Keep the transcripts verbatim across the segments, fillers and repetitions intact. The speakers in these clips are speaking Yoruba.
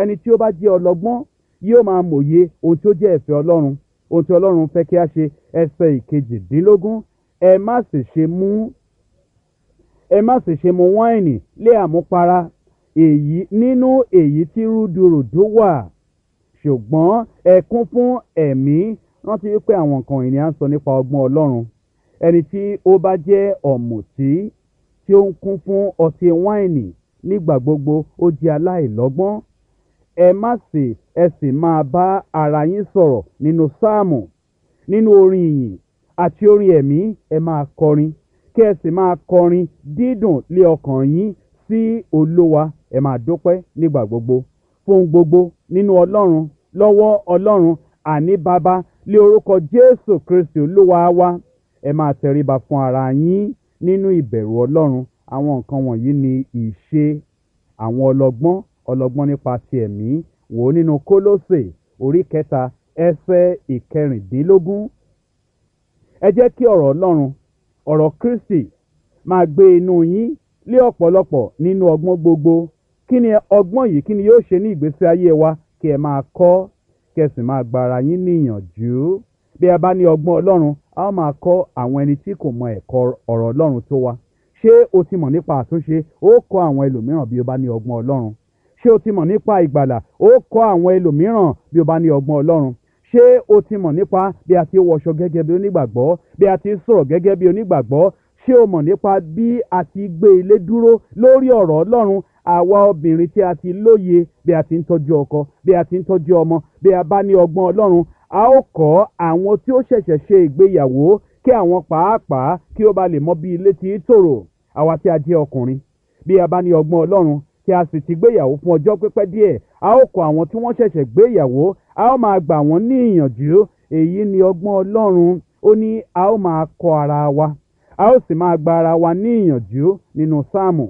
Ẹni tí ó bá jẹ́ ọlọ́gbọ́n yóò máa mòye ohun tí ó jẹ́ ìfẹ́ Ọlọ́run, ohun tí Ọlọ́run fẹ́ kí a ṣe. Ẹsẹ̀ ìkejìdínlógún, ẹ má sì ṣe mú, ẹ má sì ṣe mu wáìnì lé àmupara, èyí nínú èyí tí rúdurùdu wà, ṣùgbọ́n ẹ kún fún ẹ̀mí. Rántí wípé àwọn nǹkan wọ̀nyí ni à ń sọ nípa ọgbọ́n Ọlọ́run. Ẹni tí ó bá jẹ́ ọ̀mùtí tí ó ń kún fún ọtí wáìnì nígbà gbogbo, ó jẹ́ aláìlọ́gbọ́n. Ẹ má sì, ẹ sì máa bá ara yín sọ̀rọ̀ nínú sáàmù, nínú orin ìyìn àti orin ẹ̀mí. Ẹ máa kọrin, kí ẹ sì máa kọrin dídùn lé ọkàn yín sí Olúwa. Ẹ máa dúpẹ́ nígbà gbogbo fún gbogbo nínú Ọlọ́run, lọ́wọ́ Ọlọ́run àní Baba, lé orúkọ Jésù Kristi Olúwa wa. Ẹ máa tẹríba fún ara yín nínú ìbẹ̀rù Ọlọ́run. Àwọn nǹkan wọ̀nyí ni ìṣe àwọn ọlọ́gbọ́n, ọlọ́gbọ́n nípa ti ẹ̀mí. Wò ó nínú Kólósè orí kẹta ẹsẹ̀ ìkẹrìndínlógún. Ẹ jẹ́ kí ọ̀rọ̀ Ọlọ́run, ọ̀rọ̀ Kristi máa gbé inú yín lé ọ̀pọ̀lọpọ̀ nínú ọgbọ́n gbogbo. Kí ni ọgbọ́n yìí? Kí ni yóò ṣe ní ìgbésí ayé wa? Kí ẹ máa kọ́, kí ẹ sì máa gba ara yín níyànjú. Bí a bá ní ọgbọ́n Ọlọ́run, a ó máa kọ́ àwọn ẹni tí kò mọ ẹ̀kọ́ ọ̀rọ̀ Ọlọ́run tó wa. Ṣé o ti mọ̀ nípa àtúnṣe? Ó kọ́ àwọn ẹlòmíràn bí o bá ní ọgbọ́n Ọlọ́run. Ṣé o ti mọ̀ nípa ìgbàlà? Ó kọ́ àwọn ẹlòmíràn bí o bá ní ọgbọ́n Ọlọ́run. Ṣé o ti mọ̀ nípa bí a ti wọṣọ gẹ́gẹ́ bí onígbàgbọ́, bí a ti sọ̀rọ̀ gẹ́gẹ́ bí onígbàgbọ́? Ṣé o mọ̀ nípa bí a ti gbé ilé dúró lórí ọ̀rọ̀ Ọlọ́run? Àwa obìnrin tí a ti lóye bí a ti ń tọ́jú ọkọ, bí a ti ń tọ́jú ọmọ, bí a bá ní ọgbọ́n Ọlọ́run, a ó kọ́ àwọn tí ó ṣẹ̀ṣẹ̀ ṣe ìgbéyàwó kí àwọn pàápàá kí ó ba lè mọ bí ilé ti ń tòrò. Àwa tí a jẹ́ ọkùnrin, bí a bá ní ọgbọ́n Ọlọ́run tí a sì ti gbéyàwó fún ọjọ́ pípẹ́ díẹ̀, a ó kọ́ àwọn tí wọ́n ṣẹ̀ṣẹ̀ gbéyàwó, a ó máa gbà wọ́n ní ìyànjú. Èyí ni ọgbọ́n Ọlọ́run. Ó ní a ó máa kọ́ ara wa, a ó sì máa gba ara wa ní ìyànjú nínú sáàmù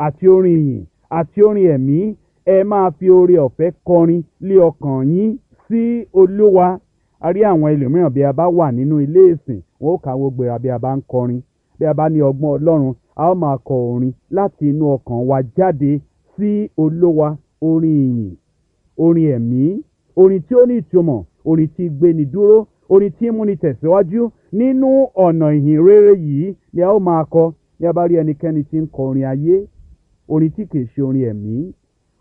àti orin ìyìn àti orin ẹ̀mí. Ẹ máa fi oore ọ̀fẹ́ kọrin lé ọkàn yín sí Olúwa. A rí àwọn ẹlòmíràn bí a bá wà nínú ilé ìsìn, wọn ó káwọ́ gbéra bí a bá ń kọrin. Bí a bá ní ọgbọ́n Ọlọ́run, a ó máa kọ orin láti inú ọkàn wa jáde sí Olúwa. Orin ìyìn, orin ẹ̀mí, orin tí ó ní ìtumọ̀, orin tí gbéni dúró, orin tí múni tẹ̀síwájú nínú ọ̀nà ìhìn rere yìí ni a ó máa kọ. Bí a bá rí ẹnikẹ́ni tí ń kọ orin ayé, orin tí kìí ṣe orin ẹ̀mí,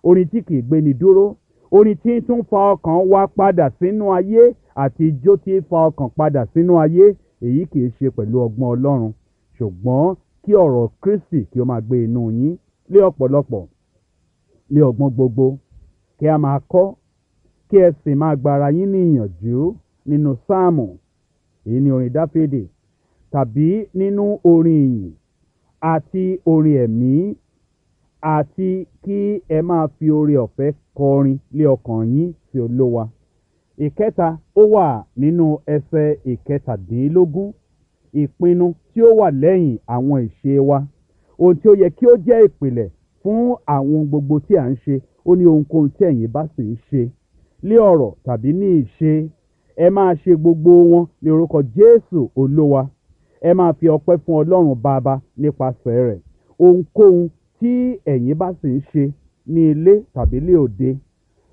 orin tí kìí gbéni dúró, orin tí ń tún fa ọkàn wa padà sínú ayé àti ijó tí ń fa ọkàn padà sínú ayé, èyí kìí ṣe pẹ̀lú ọgbọ́n Ọlọ́run. Ṣùgbọ́n kí ọ̀rọ̀ Kristi kí ó máa gbé inú yín lé ọ̀pọ̀lọpọ̀, lé ọgbọ́n gbogbo, kí a máa kọ́, kí ẹ sì máa gba ara yín ní ìyànjú nínú sáàmù, èyí ni orin Dáfídì, tàbí nínú orin ìyìn àti orin ẹ̀mí, àti kí ẹ máa fi oore ọ̀fẹ́ kọrin lé ọkàn yín sí Olúwa. Ìkẹta, ó wà nínú ẹsẹ̀ ìkẹtàdínlógún, ìpinnu tí ó wà lẹ́yìn àwọn ìṣe wa. Ohun tí ó yẹ kí ó jẹ́ ìpìlẹ̀ fún àwọn ohun gbogbo tí à ń ṣe. Ó ní ohunkóhun tí ẹ̀yin bá sì ń ṣe, lé ọ̀rọ̀ tàbí ní ìṣe, ẹ máa ṣe gbogbo wọn ní orúkọ Jésù Olúwa. Ẹ máa fi ọpẹ́ fún Ọlọ́run Baba nípasẹ̀ rẹ̀. Ohunkóhun tí ẹ̀yin bá sì ń ṣe ní ilé tàbí lé òde,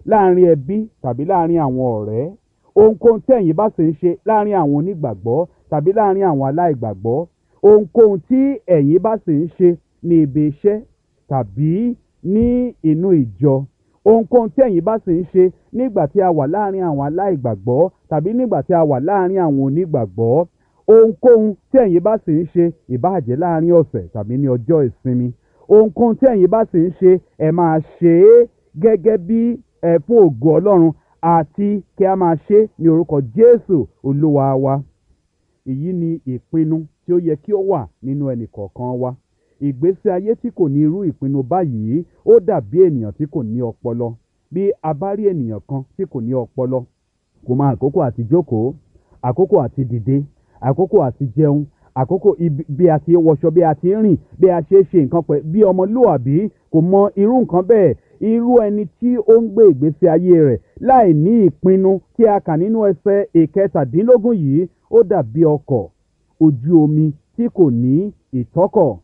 láàrin ẹbí tàbí láàrin àwọn ọ̀rẹ́, ohunkóhun tí ẹ̀yin bá sì ń ṣe láàrin àwọn onígbàgbọ́ tàbí láàrin àwọn aláìgbàgbọ́, ohunkóhun tí ẹ̀yin bá sì ń ṣe ní ibi iṣẹ́ tàbí ní inú ìjọ, ohunkóhun tí ẹ̀yin bá sì ń ṣe nígbà tí a wà láàrin àwọn aláìgbàgbọ́ tàbí nígbà tí a wà láàrin àwọn onígbàgbọ́, ohunkóhun tí ẹ̀yin bá sì ń ṣe, ìbáà jẹ́ láàrin ọ̀sẹ̀ tàbí ní ọjọ́ ìsinmi, ohunkóhun tí ẹ̀yin bá sì ń ṣe, ẹ máa ṣe é gẹ́gẹ́ bí ẹ fún ògo Ọlọ́run àti kí a máa ṣe é ní orúkọ Jésù Olúwa wa. Èyí ni ìpinnu tí ó yẹ kí ó wà nínú ẹnì kọ̀ọ̀kan wa. Ìgbésí ayé tí kò ní irú ìpinnu báyìí ó dàbí ènìyàn tí kò ní ọpọlọ. Bí a bá rí ènìyàn kan tí kò ní ọpọlọ, kò mọ àkókò àti jókòó, àkókò àti dìde, àkókò àti jẹun, àkókò bí a ti ń wọṣọ, bí a ti ń rìn, bí a ṣe é ṣe nǹkan pẹ̀, bí ọmọlúwàbí kò mọ irú nǹkan bẹ́ẹ̀. Irú ẹni tí ó ń gbé ìgbésí ayé rẹ̀ láì ní ìpinnu tí a kà nínú ẹsẹ̀ ìkẹtàdínlógún yìí, ó dàbí ọkọ̀ ojú omi tí kò ní ìtọ́kọ̀,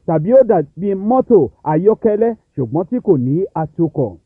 tàbí ó dàbí mọ́tò ayọ́kẹ́lẹ́ ṣùgbọ́n tí kò ní atukọ̀.